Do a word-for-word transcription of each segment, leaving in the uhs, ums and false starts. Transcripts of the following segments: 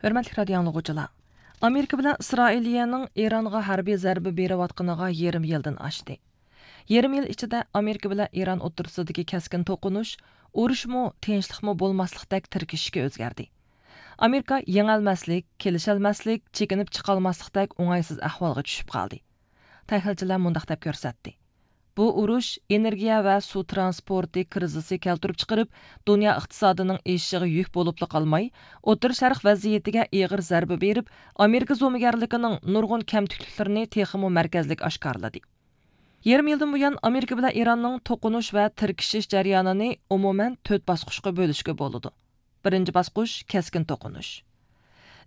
ھۆرمەتلىك رادىيو ئاڭلىغۇچىلار، ئامېرىكا بىلەن ئىسرائىلىيەنىڭ ئىرانغا ھەربىي زەربە بېرىۋاتقىنىغا يېرىم يىلدىن ئاشتى. يېرىم يىل ئىچىدە ئامېرىكا بىلەن ئىران ئوتتۇرىسىدىكى كەسكىن توقۇنۇش ئۇرۇشمۇ، تىنچلىقمۇ بولماسلىقتەك تىركىشىشكە ئۆزگەردى. ئامېرىكا يېڭەلمەسلىك، كېلىشەلمەسلىك، چېكىنىپ چىقالماسلىقتەك ئوڭايسىز ئەھۋالغا چۈشۈپ قالدى. تەھلىلچىلەر مۇنداق دەپ كۆرسەتتى: بۇ ئۇرۇش ئېنېرگىيە ۋە سۇ ترانسپورتى كىرىزىسى كەلتۈرۈپ چىقىرىپ، دۇنيا ئىقتىسادىنىڭ ئېشىشىغا يۈك بولۇپلا قالماي، ئوتتۇرا شەرق ۋەزىيىتىگە ئېغىر زەربە بېرىپ، ئامېرىكا زومىگەرلىكىنىڭ نۇرغۇن كەمتۈكلۈكلىرىنى تېخىمۇ مەركەزلىك ئاشكارىلىدى. يېرىم يىلدىن بۇيان ئامېرىكا بىلەن ئىراننىڭ توقۇنۇش ۋە تىركىشىش جەريانىنى ئومۇمەن تۆت باسقۇچقا بۆلۈشكە بولىدۇ. بىرىنچى باسقۇچ، كەسكىن توقۇنۇش.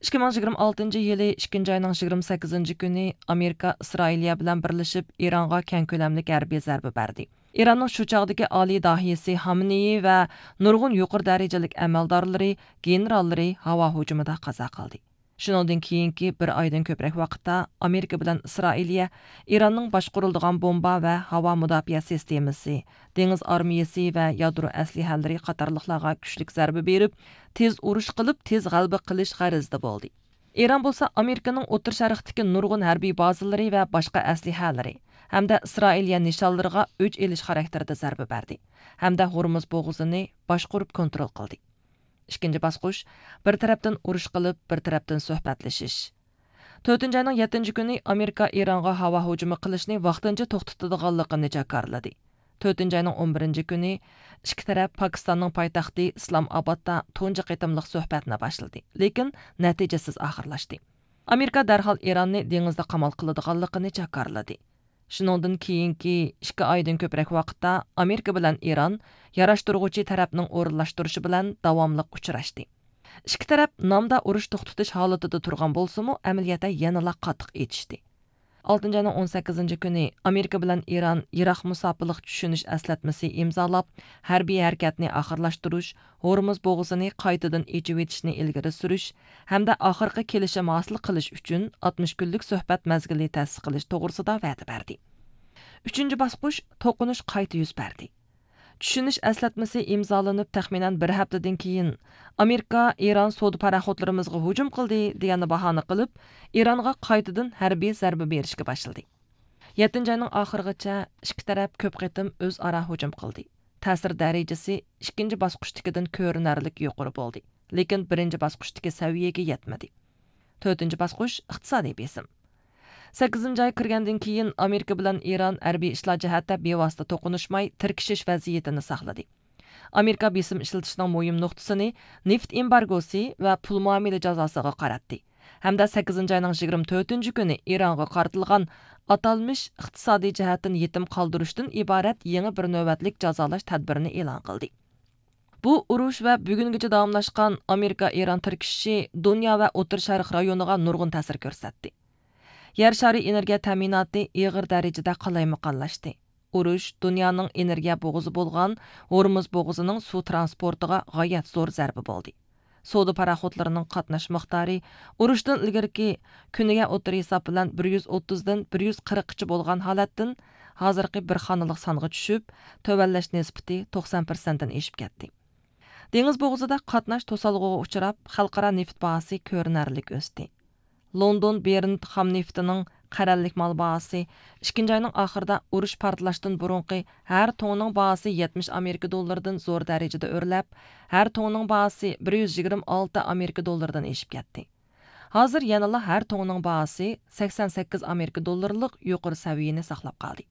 ئىككى مىڭ يىگىرمە ئالتىنچى يىلى ئىككىنچى ئاينىڭ يىگىرمە سەككىزىنچى كۈنى ئامېرىكا ئىسرائىلىيە بىلەن بىرلىشىپ ئىرانغا كەڭ كۆلەملىك ھەربىي زەربە بەردى. ئىراننىڭ شۇ چاغدىكى ئالىي داھىيسى خامنېيى ۋە نۇرغۇن يۇقىرى دەرىجىلىك ئەمەلدارلىرى، گېنېراللىرى ھاۋا ھۇجۇمىدا قازا قىلدى. شۇنىڭدىن كېيىنكى بىر ئايدىن كۆپرەك ۋاقىتتا ئامېرىكا بىلەن ئىسرائىلىيە ئىراننىڭ باشقۇرۇلىدىغان بومبا ۋە ھاۋا مۇداپىئە سىستېمىسى، دېڭىز ئارمىيىسى ۋە يادرو ئەسلىھەلىرى قاتارلىقلارغا كۈچلۈك زەربە بېرىپ، تېز ئۇرۇش قىلىپ، تېز غەلىبە قىلىش غەرىزىدە بولدى. ئىران بولسا ئامېرىكىنىڭ ئوتتۇرا شەرقتىكى نۇرغۇن ھەربىي بازىلىرى ۋە باشقا ئەسلىھەلىرى ھەمدە ئىسرائىلىيە نىشانلىرىغا ئۆچ ئېلىش خاراكتېرىدە زەربە بەردى ھەمدە ھورمۇز بوغۇزىنى باشقۇرۇپ كونترول قىلدى. ئىككىنچى باسقۇچ، بىر تەرەپتىن ئۇرۇش قىلىپ، بىر تەرەپتىن سۆھبەتلىشىش. تۆتىنچى ئاينىڭ يەتتىنچى كۈنى ئامېرىكا ئىرانغا ھاۋا ھۇجۇمى قىلىشنى ۋاقتىنچە توختىتىدىغانلىقىنى جاكارلىدى. تۆتىنچى ئاينىڭ ئون بىرىنچى كۈنى ئىككى تەرەپ پاكىستاننىڭ پايتەختى ئىسلام ئابادتا تۇنجى قېتىملىق سۆھبەتنى باشلىدى، لېكىن نەتىجىسىز ئاخىرلاشتى. ئامېرىكا دەرھال ئىراننى دېڭىزدا قامال قىلىدىغانلىقىنى جاكارلىدى. شۇنىڭدىن كېيىنكى ئىككى ئايدىن كۆپرەك ۋاقىتتا ئامېرىكا بىلەن ئىران ياراشتۇرغۇچى تەرەپنىڭ ئورۇنلاشتۇرۇشى بىلەن داۋاملىق ئۇچراشتى. ئىككى تەرەپ نامدا ئۇرۇش توختىتىش ھالىتىدە تۇرغان بولسىمۇ، ئەمەلىيەتتە يەنىلا قاتتىق ئېتىشتى. ئالتىنچى ئاينىڭ ئون سەككىزىنچى كۈنى ئامېرىكا بىلەن ئىران يىراق مۇساپىلىق چۈشىنىش ئەسلەتمىسى ئىمزالاپ، ھەربىي ھەرىكەتنى ئاخىرلاشتۇرۇش، ھورمۇز بوغۇزىنى قايتىدىن ئېچىۋېتىشنى ئىلگىرى سۈرۈش ھەمدە ئاخىرقى كېلىشىم ھاسىل قىلىش ئۈچۈن ئاتمىش كۈنلۈك سۆھبەت مەزگىلى تەسىس قىلىش توغرىسىدا ۋەدە بەردى. ئۈچىنچى باسقۇچ، توقۇنۇش قايتا يۈز بەردى. چۈشىنىش ئەسلەتمىسى ئىمزالىنىپ تەخمىنەن بىر ھەپتىدىن كېيىن، ئامېرىكا ئىران سودا پاراخوتلىرىمىزغا ھۇجۇم قىلدى دېگەننى باھانە قىلىپ، ئىرانغا قايتىدىن ھەربىي زەربە بېرىشكە باشلىدى. يەتتىنچى ئاينىڭ ئاخىرىغىچە ئىككى تەرەپ كۆپ قېتىم ئۆزئارا ھۇجۇم قىلدى. تەسىر دەرىجىسى ئىككىنچى باسقۇچتىكىدىن كۆرۈنەرلىك يۇقىرى بولدى، لېكىن بىرىنچى باسقۇچتىكى سەۋىيەگە يەتمىدى. تۆتىنچى باسقۇچ، ئىقتىسادىي بېسىم. سەككىزىنچى ئاي كىرگەندىن كېيىن، ئامېرىكا بىلەن ئىران ھەربىي ئىشلار جەھەتتە بىۋاسىتە توقۇنۇشماي، تىركىشىش ۋەزىيىتىنى ساقلىدى. ئامېرىكا بېسىم ئىشلىتىشنىڭ مۇھىم نۇقتىسىنى نېفىت ئېمبارگوسى ۋە پۇل مۇئامىلە جازاسىغا قاراتتى ھەمدە سەككىزىنچى ئاينىڭ يىگىرمە تۆتىنچى كۈنى ئىرانغا قارىتىلغان ئاتالمىش ئىقتىسادىي جەھەتتىن يېتىم قالدۇرۇشتىن ئىبارەت يېڭى بىر نۆۋەتلىك جازالاش تەدبىرىنى ئېلان قىلدى. بۇ ئۇرۇش ۋە بۈگۈنگىچە داۋاملاشقان ئامېرىكا ئىران تىركىشىشى دۇنيا ۋە ئوتتۇرا شەرق رايونىغا نۇرغۇن تەسىر كۆرسەتتى. يەر شارى ئېنېرگىيە تەمىناتى ئېغىر دەرىجىدە قالايمىقانلاشتى. ئۇرۇش دۇنيانىڭ ئېنېرگىيە بوغۇزى بولغان ھورمۇز بوغۇزىنىڭ سۇ ترانسپورتىغا غايەت زور زەربە بولدى. سودا پاراخوتلىرىنىڭ قاتناش مىقدارى ئۇرۇشتىن ئىلگىرىكى كۈنىگە ئوتتۇرا ھېساب بىلەن بىر يۈز ئوتتۇزدىن بىر يۈز قىرىققىچە بولغان ھالەتتىن ھازىرقى بىر خانىلىق سانغا چۈشۈپ، تۆۋەنلەش نىسبىتى توقسان پىرسەنتتىن ئېشىپ كەتتى. دېڭىز بوغۇزىدا قاتناش توسالغۇغا ئۇچراپ، خەلقئارا نېفىت باھاسى كۆرۈنەرلىك ئۆستى. لوندون برېنت خام نېفىتىنىڭ قەرەللىك مال باھاسى ئىككىنچى ئاينىڭ ئاخىرىدا ئۇرۇش پارتلاشتىن بۇرۇنقى ھەر توننىنىڭ باھاسى يەتمىش ئامېرىكا دوللىرىدىن زور دەرىجىدە ئۆرلەپ، ھەر توننىڭ باھاسى بىر يۈز يىگىرمە ئالتە ئامېرىكا دوللىرىدىن ئېشىپ كەتتى. ھازىر يەنىلا ھەر توننىڭ باھاسى سەكسەن سەككىز ئامېرىكا دوللىرىلىق يۇقىرى سەۋىيىنى ساقلاپ قالدى.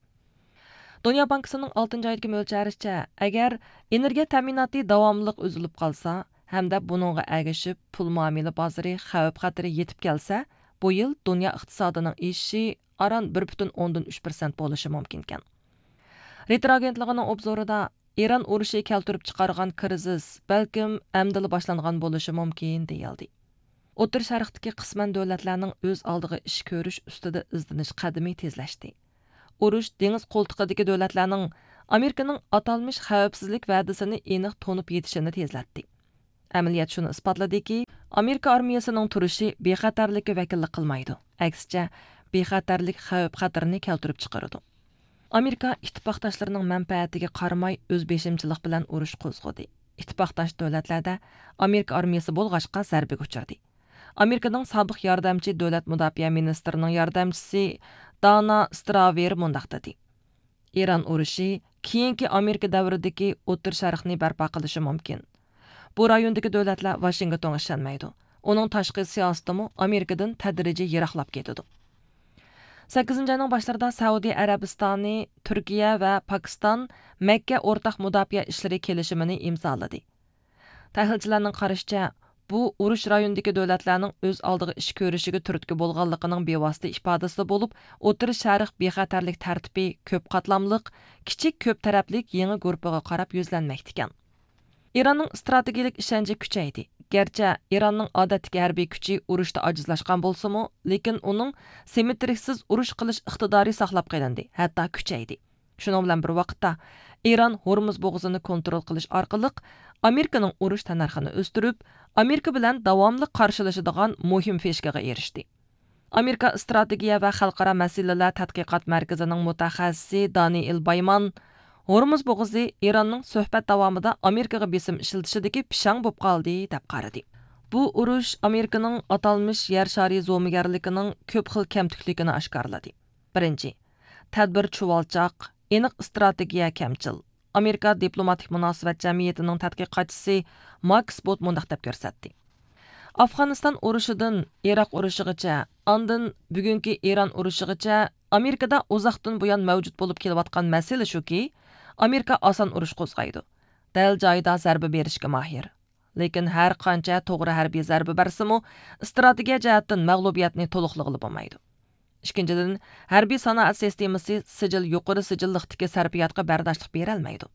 دۇنيا بانكىسىنىڭ ئالتىنچى ئايدىكى مۆلچەرلىشىچە، ئەگەر ئېنېرگىيە تەمىناتى داۋاملىق ئۈزۈلۈپ قالسا ھەمدە بۇنىڭغا ئەگىشىپ پۇل مۇئامىلە بازىرى خەۋپ خەتىرى يېتىپ كەلسە، بۇ يىل دۇنيا ئىقتىسادىنىڭ ئېشىشى ئاران بىر پۈتۈن ئوندىن ئۈچ پىرسەنت بولۇشى مۇمكىنكەن. رېتېر ئاگېنتلىقىنىڭ ئوبزورىدا، ئىران ئۇرۇشى كەلتۈرۈپ چىقارغان كىرىزىس بەلكىم ئەمدىلا باشلانغان بولۇشى مۇمكىن، دېيىلدى. ئوتتۇرا شەرقتىكى قىسمەن دۆلەتلەرنىڭ ئۆز ئالدىغا ئىش كۆرۈش ئۈستىدە ئىزدىنىش قەدىمى تېزلەشتى. ئۇرۇش دېڭىز قولتۇقىدىكى دۆلەتلەرنىڭ ئامېرىكىنىڭ ئاتالمىش خەۋپسىزلىك ۋەدىسىنى ئېنىق تونۇپ يېتىشىنى تېزلەتتى. ئەمەلىيەت شۇنى ئىسپاتلىدىكى، ئامېرىكا ئارمىيىسىنىڭ تۇرۇشى بىخەتەرلىككە ۋەكىللىك قىلمايدۇ، ئەكسىچە، بىخەتەرلىك خەۋپ خەتىرىنى كەلتۈرۈپ چىقىرىدۇ. ئامېرىكا ئىتتىپاقداشلىرىنىڭ مەنپەئەتىگە قارىماي ئۆز بېشىمچىلىق بىلەن ئۇرۇش قوزغىدى. ئىتتىپاقداش دۆلەتلەردە ئامېرىكا ئارمىيىسى بولغاچقا زەربىگە ئۇچرىدى. ئامېرىكىنىڭ سابىق ياردەمچى دۆلەت مۇداپىئە مىنىستىرىنىڭ ياردەمچىسى دانا ستراۋېر مۇنداق دېدى: ئىران ئۇرۇشى كېيىنكى ئامېرىكا دەۋرىدىكى ئوتتۇرا شەرقنى بەرپا قىلىشى مۇمكىن. بۇ رايوندىكى دۆلەتلەر ۋاشىنگتونغا ئىشەنمەيدۇ. ئۇنىڭ تاشقى سىياسىتىمۇ ئامېرىكىدىن تەدرىجىي يىراقلاپ كېتىدۇ. سەككىزىنچى ئاينىڭ باشلىرىدا سەئۇدى ئەرەبىستانى، تۈركىيە ۋە پاكىستان مەككە ئورتاق مۇداپىئە ئىشلىرى كېلىشىمىنى ئىمزالىدى. تەھلىلچىلەرنىڭ قارىشىچە، بۇ ئۇرۇش رايونىدىكى دۆلەتلەرنىڭ ئۆز ئالدىغا ئىش كۆرۈشىگە تۈرتكە بولغانلىقىنىڭ بىۋاسىتە ئىپادىسى بولۇپ، ئوتتۇرا شەرق بىخەتەرلىك تەرتىپى كۆپ قاتلاملىق، كىچىك كۆپ تەرەپلىك يېڭى گۇرۇپپىغا قاراپ يۈزلەنمەكتىكەن. ئىراننىڭ ئىستراتېگىيىلىك ئىشەنچى كۈچەيدى. گەرچە ئىراننىڭ ئادەتتىكى ھەربىي كۈچى ئۇرۇشتا ئاجىزلاشقان بولسىمۇ، لېكىن ئۇنىڭ سىممېترىكسىز ئۇرۇش قىلىش ئىقتىدارى ساقلاپ قېلىندى، ھەتتا كۈچەيدى. شۇنىڭ بىلەن بىر ۋاقىتتا، ئىران ھورمۇز بوغۇزىنى كونترول قىلىش ئارقىلىق ئامېرىكىنىڭ ئۇرۇش تەننەرخىنى ئۆستۈرۈپ، ئامېرىكا بىلەن داۋاملىق قارشىلىشىدىغان مۇھىم فىشكىغا ئېرىشتى. ئامېرىكا ئىستراتېگىيە ۋە خەلقئارا مەسىلىلەر تەتقىقات مەركىزىنىڭ مۇتەخەسسىسى دانىئېل بايمان، ھورمۇز بوغۇزى ئىراننىڭ سۆھبەت داۋامىدا ئامېرىكىغا بېسىم ئىشلىتىشىدىكى پىشاڭ بولۇپ قالدى، دەپ قارىدى. بۇ ئۇرۇش ئامېرىكىنىڭ ئاتالمىش يەر شارى زومىگەرلىكىنىڭ كۆپ خىل كەمتۈكلۈكىنى ئاشكارىلىدى. بىرىنچى، تەدبىر چۇۋالچاق، ئېنىق ئىستراتېگىيە كەمچىل. ئامېرىكا دىپلوماتىك مۇناسىۋەت جەمئىيىتىنىڭ تەتقىقاتچىسى ماكس بوت مۇنداق دەپ كۆرسەتتى: ئافغانىستان ئۇرۇشىدىن ئىراق ئۇرۇشىغىچە، ئاندىن بۈگۈنكى ئىران ئۇرۇشىغىچە ئامېرىكىدا ئۇزاقتىن بۇيان مەۋجۇت بولۇپ كېلىۋاتقان مەسىلە شۇكى، ئامېرىكا ئاسان ئۇرۇش قوزغايدۇ. دەل جايىدا زەربە بېرىشكە ماھىر. لېكىن ھەر قانچە توغرا ھەربىي زەربە بەرسىمۇ، ئىستراتېگىيە جەھەتتىن مەغلۇبىيەتنى تولۇقلىغىلى بولمايدۇ. ئىككىنچىدىن، ھەربىي سانائەت سىستېمىسى سىجىل، يۇقىرى سىجىللىقتىكى سەرپىياتقا بەرداشلىق بېرەلمەيدۇ.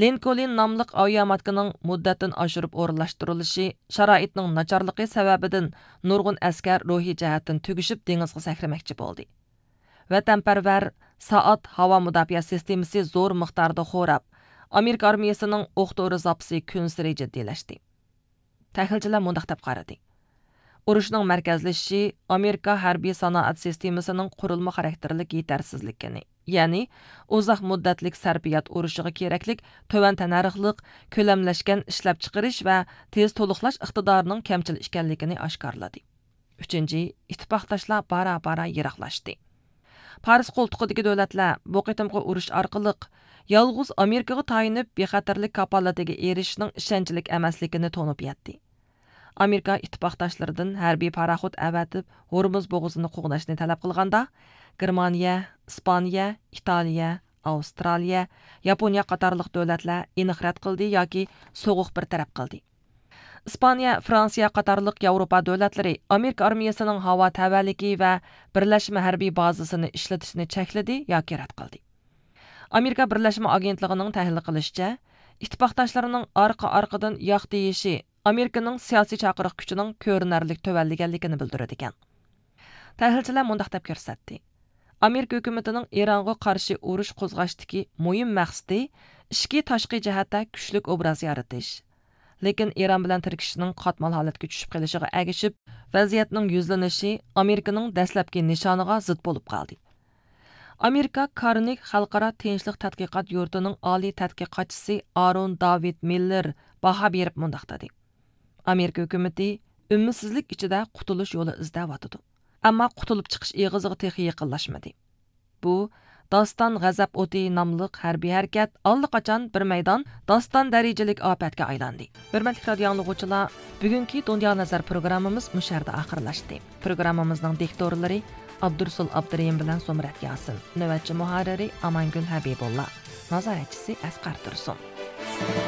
لىنكولن ناملىق ئاۋىياماتكىنىڭ مۇددەتتىن ئاشۇرۇپ ئورۇنلاشتۇرۇلۇشى، شارائىتنىڭ ناچارلىقى سەۋەبىدىن نۇرغۇن ئەسكەر روھىي جەھەتتىن تۈگىشىپ، دېڭىزغا سەكرىمەكچى بولدى. ۋەتەنپەرۋەر سائات ھاۋا مۇداپىئە سىستېمىسى زور مىقداردا خوراپ، ئامېرىكا ئارمىيىسىنىڭ ئوق دورا زاپىسى كۈنسېرى جىددىيلەشتى. تەھلىلچىلەر مۇنداق دەپ قارىدى: ئۇرۇشنىڭ مەركەزلىشىشى ئامېرىكا ھەربىي سانائەت سىستېمىسىنىڭ قۇرۇلما خاراكتېرلىك يېتەرسىزلىكىنى، يەنى ئۇزاق مۇددەتلىك سەرپىيات ئۇرۇشىغا كېرەكلىك تۆۋەن تەننەرخلىق، كۆلەملەشكەن ئىشلەپچىقىرىش ۋە تېز تولۇقلاش ئىقتىدارىنىڭ كەمچىل ئىكەنلىكىنى ئاشكارىلىدى. ئۈچىنچى، ئىتتىپاقداشلار بارا-بارا يىراقلاشتى. پارس قولتۇقىدىكى دۆلەتلەر بۇ قېتىمقى ئۇرۇش ئارقىلىق يالغۇز ئامېرىكىغا تايىنىپ بىخەتەرلىك كاپالىتىگە ئېرىشىشنىڭ ئىشەنچلىك ئەمەسلىكىنى تونۇپ يەتتى. ئامېرىكا ئىتتىپاقداشلىرىدىن ھەربىي پاراخوت ئەۋەتىپ ھورمۇز بوغۇزىنى قوغداشنى تەلەپ قىلغاندا، گېرمانىيە، ئىسپانىيە، ئىتالىيە، ئاۋسترالىيە، ياپونىيە قاتارلىق دۆلەتلەر ئېنىق رەت قىلدى ياكى سوغۇق بىر تەرەپ قىلدى. ئىسپانىيە، فرانسىيە قاتارلىق ياۋروپا دۆلەتلىرى ئامېرىكا ئارمىيىسىنىڭ ھاۋا تەۋەلىكى ۋە بىرلەشمە ھەربىي بازىسىنى ئىشلىتىشنى چەكلىدى ياكى رەت قىلدى. ئامېرىكا بىرلەشمە ئاگېنتلىقىنىڭ تەھلىل قىلىشىچە، ئىتتىپاقداشلىرىنىڭ ئارقا-ئارقىدىن ياق دېيىشى ئامېرىكىنىڭ سىياسىي چاقىرىق كۈچىنىڭ كۆرۈنەرلىك تۆۋەنلىگەنلىكىنى بىلدۈرىدىكەن. تەھلىلچىلەر مۇنداق دەپ كۆرسەتتى: ئامېرىكا ھۆكۈمىتىنىڭ ئىرانغا قارشى ئۇرۇش قوزغاشتىكى مۇھىم مەقسىتى ئىچكى، تاشقى جەھەتتە كۈچلۈك ئوبراز يارىتىش. لېكىن ئىران بىلەن تىركىشىشنىڭ قاتمال ھالەتكە چۈشۈپ قېلىشىغا ئەگىشىپ، ۋەزىيەتنىڭ يۈزلىنىشى ئامېرىكىنىڭ دەسلەپكى نىشانىغا زىت بولۇپ قالدى. ئامېرىكا كارنېگى خەلقئارا تىنچلىق تەتقىقات يۇرتىنىڭ ئالىي تەتقىقاتچىسى ئارون داۋىد مىللېر باھا بېرىپ مۇنداق دېدى: ئامېرىكا ھۆكۈمىتى ئۈمىدسىزلىك ئىچىدە قۇتۇلۇش يولى ئىزدەۋاتىدۇ. ئەمما قۇتۇلۇپ چىقىش ئېغىزىغا تېخى يېقىنلاشمىدى. بۇ داستان غەزەپ ئوتى ناملىق ھەربىي ھەرىكەت ئاللىقاچان بىر مەيدان داستان دەرىجىلىك ئاپەتكە ئايلاندى. ھۆرمەتلىك رادىيو ئاڭلىغۇچىلار، بۈگۈنكى دۇنيا نەزەر پروگراممىمىز مۇشۇ يەردە ئاخىرلاشتى. پروگراممىمىزنىڭ دىكتورلىرى ئابدۇرسۇل ئابدۇرېھىم بىلەن زۇمرەت ياسىن، نۆۋەتچى مۇھەررىرى ئامانگۈل ھەبىبۇللا، نازارەتچىسى ئەسقەر تۇرسۇن.